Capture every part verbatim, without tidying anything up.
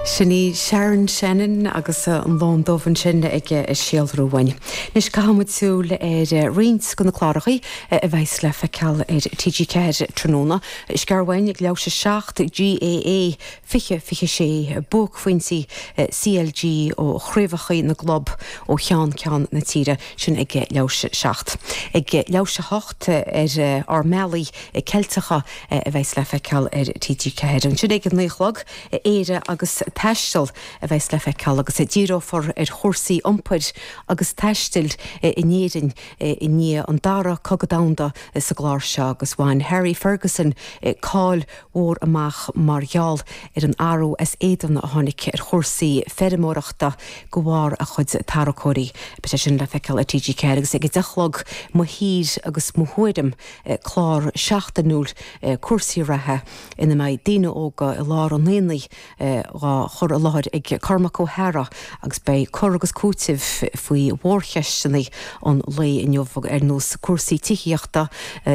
Sin í Sharon Shannon agus an Lon Dubh ansin ag síolrú uainn. Anois caithfimid súil ar roinnt de na cláracha a bheas le feiceáil ar TG Ceathair tráthnóna. Scearhain leis a seacht GAA fiche fiche sé buaicphointí CLG ó chraobhacha na gclub ó cheann ceann na tíre sin ag leathuair théis seacht. Ag leathuair théis a hocht ar ár mbealaí Ceilteacha a bheas le feiceáil ar TG Ceathair. Ansin ag naoi a chlog Éire agus taisteal a bheas le feiceáil agus díreofar ar chúrsaí iompair agus taistil in Éirinn i ndiaidh an dara cogadh domhanda sa gclár seo agus bhain Harry Ferguson cáil mhór amach mar gheall ar an athrú as éadan a tháinig ar chúrsaí feirmeoireachta de bharr a chuid tarracóirí. Beidh sé sin le feiceáil ar TG Ceathair agus ag a deich a chlog mo thír agus mo thuairim clár seachtainiúil cúrsaí reatha ina mbeidh daoine óga i lár an aonaigh á chur i láthair ag Cormac Ó hEara agus beidh cur agus cúiteamh faoi mhórcheisteanna an lae inniu ar nós cúrsaí tithíochta,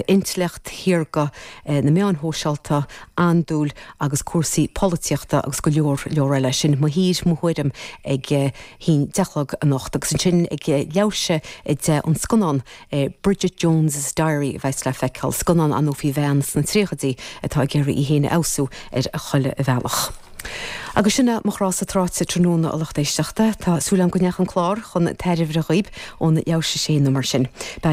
intleacht shaorga na meáin shóisialta, andúil agus cúrsaí polaitíochta agus go leor leor eile sin mo thír mo thuairim ag a deich a chlog anocht agus ansin ag leathuair théis a deich an scannán Bridget Jones's Diary bheas le feiceáil scannán ann faoi bhean sna tríochaidí atá ag iarraidh í féin a fheabhsú ar a chuile bhealach. Agus sin mo chrása tráite tráthnóna a lucht éisteachta, Tá súil agam go ndeachaigh an clár chun tairbhe dhaoibh ón leathuair théis a sé nó mar sin. Beidh